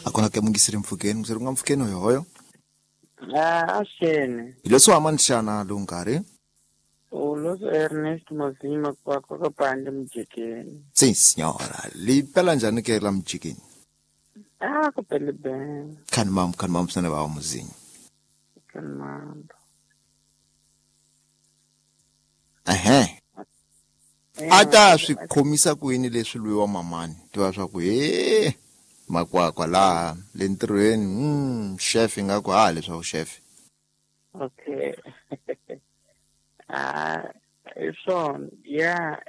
Akona ke mungisiri mpfhukeni, mungisiri ku nga mpfhukeni hoyohoyo. Ah, axeni. Hi leswi wa manixana lowu nkarhi. Uloso Ernest Mozima kwa kwa pande mjikeni. Sim senhora, li pela njhani ke la mjikeni? Ah, kupele bem. Khani mam, khani mam swinene va muzinyo. Khani mam. Ehe. A ta swi khomisa ku yini leswi lwiwa mamani tiva swa ku he makwakwa laha le ntirhweni chef ingaku ha leswaku chef. Okay. Ah, hi swona ya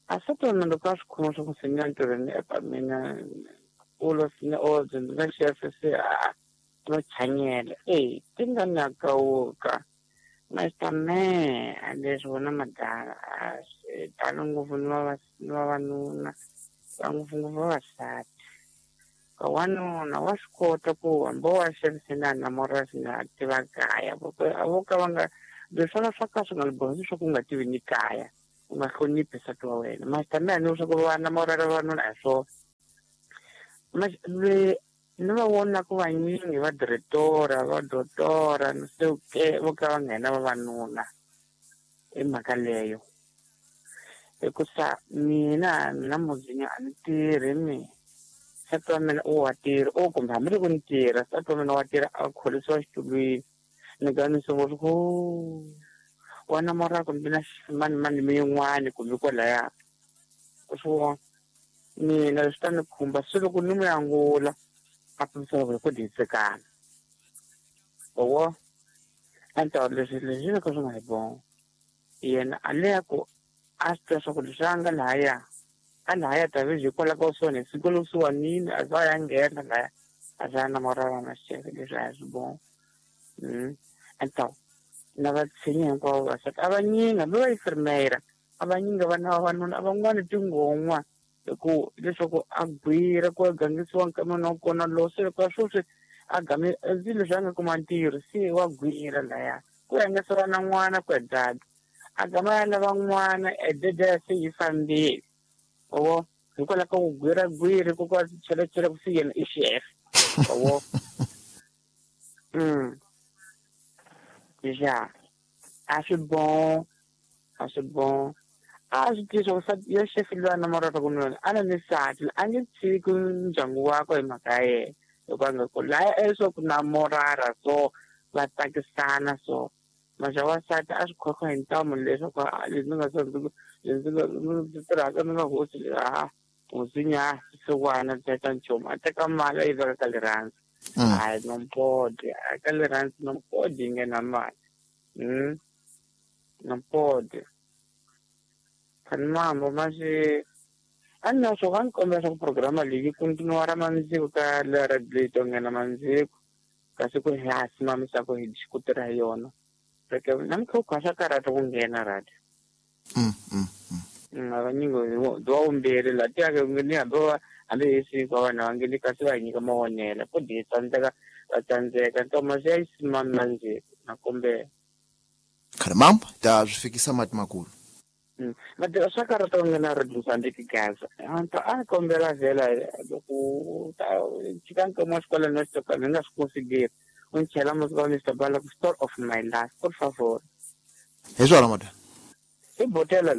a swi tona loko a swi khoma swa ku swi nga ntirhweni eka mina ulo sine odzi ndzi nga chef se a no chanyela e ti nga nakawuka Mr. Me a leswi vona madala a swi talo ngopfu ni vavanuna va ngopfungopfu vavasati ka wanuna wa swi kota ku hambi wa xavisela na morasi nga tiva kaya a vo ka va nga leswi swa ka swi nga bohi leswaku u nga tivi ni kaya u nga hloniphi nsati wa wena. Master me a ni leswaku va na morara vavanuna a hi swona. Ni va vonaka vanyingi va diretora va dotora ni se ke vo ka va nghena vavanuna i mhaka leyo hikusa mina muzinya a ni tirhi mina nsati wa mina u wa tirha o kumbe hambiloko ni tirha nsati wa mina wa tirha a kholisiwa xitulwini ni ka ni sungula ku wa namora kumbe na mani mani miyin'wani kumbe kwalaya u swi vona mina leswi ta ni khumba se loko ni n'wi angula a pfumisela ku hi ku disekana owo a ni ta leswi leswi ka swi nga hi bongo yena a leya ku a swi tiva swa ku leswi a nga lahaya a lahaya ta ve hikwalaho ka swona hi siku lokusuwanini a za ya nghena lahaya a za ya namorana na xeve leswi a hi swi bongo a ni ta na va tshinyi hinkwavo vasati a vanyingi hambi va yi firmera a vanyingi vana vavanuna a van'wani tingon'wa hi ku leswaku a gwira ku a gangisiwa nkameni wa kona lowu se loko a sweswi a game leswi a nga kuma ntirho se wa gwira laya ku ya nga sala na n'wana ku ya dada a gama ya lava n'wana edede se yi fambile owo hikwalaho ka ku gwira gwiri ku ka chelachela ku se yena i chef owo ya a swi bon a swi bon a swi tiva swa ku ya chef loyi a namoraka ku nuna a na ni nsati a nge tshiki ndyangu wakwe hi mhaka ya yena loko a nga ku laya leswaku namorara so va tsakisana so maxa wansati a swi khokha hi ntamu leswaku leswi nga leswi ndzi tirhaka ni nga hosi a hosi nya xisiwana teka nchumu a teka mali a yi veka ka rirhandzu hayi nompodi ka rirhandzu nompodi yi nghena mali nompodi khani mambo maxi a ni na swo va ni kombela swa ku programa leyi yi continuara mandziko ka le radio leyi to nghena mandziko kasi ku hi ha simamisa ku hi ku tirha hi yona reke namuntlha u khwa swa karhata ku nghena radio vanyingi wa vumbirhi laha tiyake ni hambi va hambi hi siku vanhu va ngeni kasi va hi nyika mavonelo ku di tsandzeka va tsandzeka ntoma swi ya yi simami mandziko na kombela khale mambo ta swi fikisa mati makulu mativa swa karhata ku nghena radio sandiki gaza anto a kombela vhela loko ta tshika nkomo wa xikolo no xitoka ni nga swi consideri u ni chela masiku wa Mr. Bala ku story of my life por favor hi swona madam i botela.